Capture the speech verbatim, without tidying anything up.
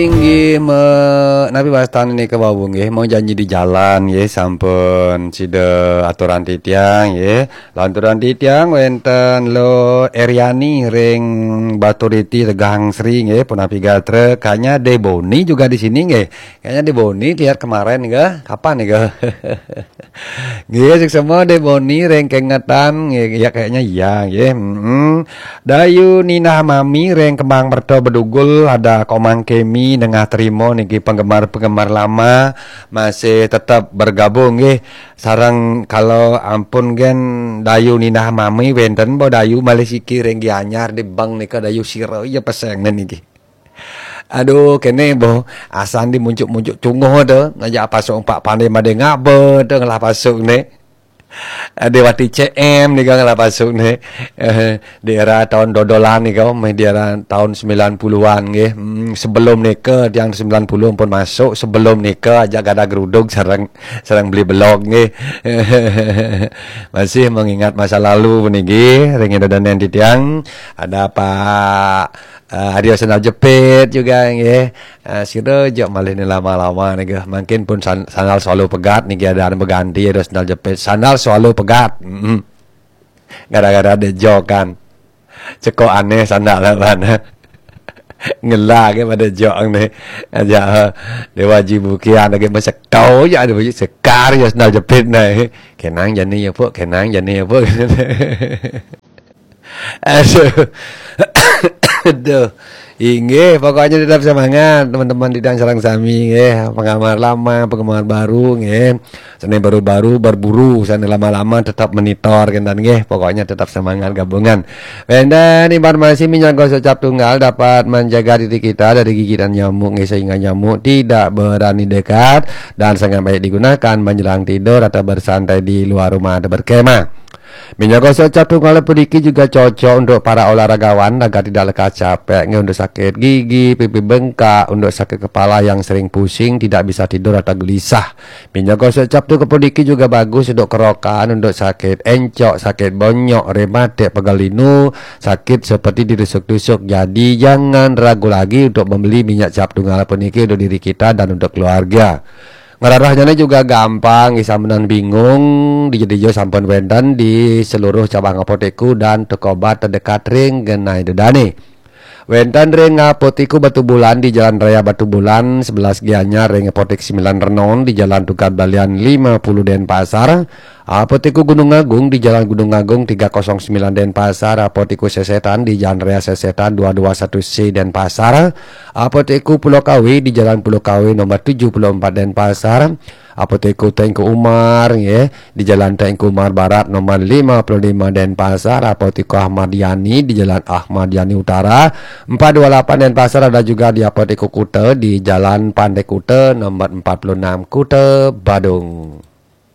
Inggih me, napi wastan nika wau nggih, mau janji di jalan nggih, sampun sida aturan titiang nggih. Lanturan titiang wenten Lo Eriani ring Baturiti Tegang Sri nggih, punapi gatra, kayaknya De Boni juga di sini nggih. Kayaknya De Boni lihat kemarin nggih, kapan nggih? Nggih, suksma De Boni ring kengetan nggih, ya kayaknya iya nggih. Mm-mm. Dayu Ninah Mami ring Kembang Merta Bedugul, ada Komang Kemi nengah terima niki penggemar-penggemar lama masih tetap bergabung nggih. Sareng kalau ampun gen Dayu Ninah Mami wenten bo Dayu malih siki ring Gianyar di bank nika Dayu sira ya peseng niki. Aduh, kene bo, asan di muncuk-muncuk cunguh tu, ngajak pasuk empat pandai made ngaba tu ngelah pasuk ni. Ada wati C M ni kan ngelah pasuk ni. Eh, di era tahun dodolan ni kau, meh di era tahun sembilan puluhan nggih. Hmm, sebelum nika tiang sembilan puluh pun masuk, sebelum nika aja gada geruduk sareng sareng beli belog nggih. Masih mengingat masa lalu puniki, ring ida danen titiang, ada Pak eh, Aryo Sendal Jepit juga nggih. Eh, sira jok malih ni lama-lama nggih. Mungkin pun san- sandal selalu pegat niki ada anu beganti Aryo Sendal Jepit. Sandal selalu pegat. Mm-mm. Gara-gara ada jok kan. Cekok aneh sandal lawan. Ngelah ke pada jok ni. Aja eh, Dewa Jibukian lagi mesekau je ada baju sekar ya sandal jepit ni. Kenang jani ya puk, kenang jani ya puk. Aduh. Aduh. Inggih, pokoknya tetap semangat teman-teman di Dangsarang sami nggih. Penggemar lama, penggemar baru nggih. Seni baru-baru berburu, seni lama-lama tetap monitor kentan nggih. Pokoknya tetap semangat gabungan. Wenten informasi minyak gosok cap tunggal dapat menjaga diri kita dari gigitan nyamuk nggih, sehingga nyamuk tidak berani dekat dan sangat baik digunakan menjelang tidur atau bersantai di luar rumah atau berkemah. Minyak gosok cap tunggal puniki juga cocok untuk para olahragawan agar tidak lekas capek, nggih, untuk sakit gigi, pipi bengkak, untuk sakit kepala yang sering pusing, tidak bisa tidur atau gelisah. Minyak gosok cap tunggal puniki juga bagus untuk kerokan, untuk sakit encok, sakit bonyok, rematik, pegal linu, sakit seperti ditusuk-tusuk. Jadi jangan ragu lagi untuk membeli minyak cap tunggal puniki untuk diri kita dan untuk keluarga. Ngrerehnyane juga gampang, nggih sampunang bingung, dija-dija sampun wenten di seluruh cabang apotekku dan toko obat terdekat ring genah ida dane. Wenten ring Apotekku Batubulan di Jalan Raya Batubulan, sebelas Gianyar, ring Apotek Sembilan Renon di Jalan Tukad Balian lima puluh Denpasar, Apotekku Gunung Agung di Jalan Gunung Agung tiga kosong sembilan Denpasar, Apotekku Sesetan di Jalan Raya Sesetan dua dua satu C Denpasar, Apotekku Pulau Kawe di Jalan Pulau Kawe nomor tujuh puluh empat Denpasar, Apotekku Tengku Umar nggih di Jalan Tengku Umar Barat nomor lima puluh lima Denpasar, Apotekku Ahmad Yani di Jalan Ahmad Yani Utara empat dua lapan Denpasar, ada juga di Apotekku Kuta di Jalan Pantai Kuta nomor empat puluh enam Kuta Badung.